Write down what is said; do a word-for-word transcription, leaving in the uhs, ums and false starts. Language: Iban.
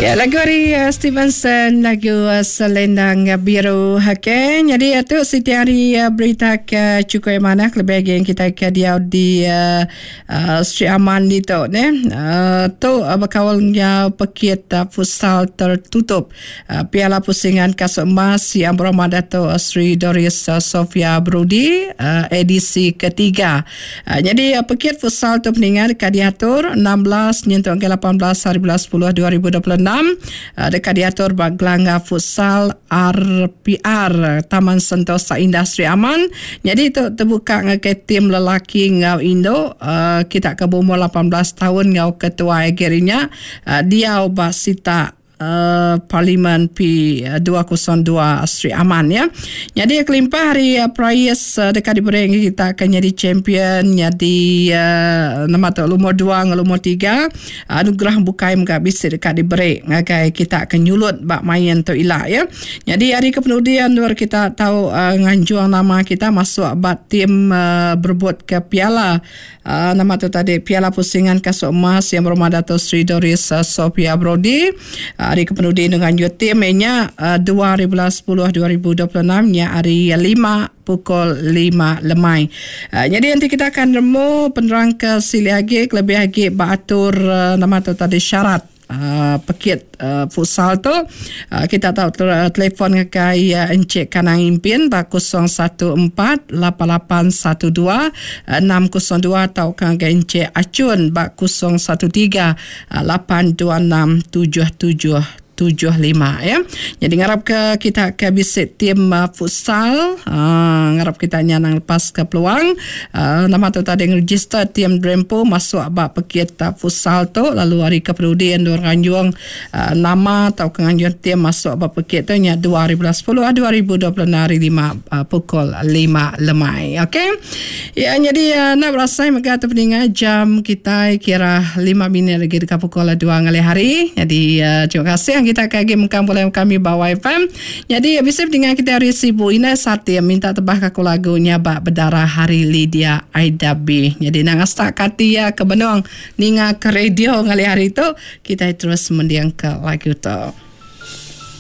Ya, lagu ari uh, Stevenson, lagu uh, Selendang Biru. Okey, jadi itu siti hari uh, berita ke cukup mana lebih lagi yang kita ke dia di uh, uh, Sri Aman di tu ne. Uh, tu uh, berkawalnya pekit uh, futsal tertutup uh, Piala Pusingan Kasut Emas yang berhormat Dato' Sri Doris uh, Sofia Brudi uh, edisi ketiga. Uh, jadi uh, pekit futsal tu peninggal dekat diatur enam belas nyentuk ke lapan belas hari bulan sepuluh dua ribu dua puluh enam dekat diatur bak gelangga futsal R P R Taman Sentosa Industri Aman. Jadi tu terbuka ngagai tim lelaki ngau Indo uh, kita ke berumur lapan belas tahun ngau ketua agerinya uh, dia basita Uh, Parlimen P dua kosong dua Sri Aman ya. Jadi kelimpah hari uh, prize uh, dekat diberi kita akan jadi champion, jadi uh, nama tu lumur dua dengan lumur tiga anugerah bukai mega bisa dekat diberi ngagai kita akan nyulut bak main tu ilak ya. Jadi hari kepenudian luar kita tahu uh, nganjuang nama kita masuk bak tim uh, berebut ke piala uh, nama tu tadi Piala Pusingan Kasut Emas yang berhormat Dato' Sri Doris uh, Sofia Brody. Uh, hari kepenudi dengan tim nya dua ribu sepuluh dua ribu dua puluh enam nya hari lima pukul lima lemai. Uh, jadi nanti kita akan remu penerang ke sili agi lebih agi beratur uh, nama tu tadi syarat uh, pekit uh, futsal tu. Uh, kita tahu ter- telefon ke uh, Encik Kanang Impin ba kosong satu empat lapan lapan satu dua enam kosong dua atau ke Encik Acun ba kosong satu tiga lapan dua enam tujuh tujuh tujuh lima ya. Jadi ngarap ke kita ke bisik tim uh, futsal, uh, ngarap kita nyanang lepas ke peluang. Uh, nama tu tadi register tim Drempo masuk bak pekit uh, futsal tu lalu hari keperudian dua ranjung uh, nama atau kenganjuan tim masuk bak pekit tu nya dua ribu sepuluh dua ribu dua puluh hari lima uh, pukul lima lemai. Okey. Ya jadi uh, nak berasai maka tu peningat jam kita kira lima minit lagi dekat pukul dua ngalih hari. Jadi uh, terima kasih kita kagi mengkam boleh kami bawa F M. Jadi bisa dengan kita hari Sibu Ina Sati minta tebah kaku lagunya bak berdarah hari Lydia Aida B. Jadi nang astak kati ya ke benong ninga ke radio ngalih hari itu kita terus mendiang ke lagu tu.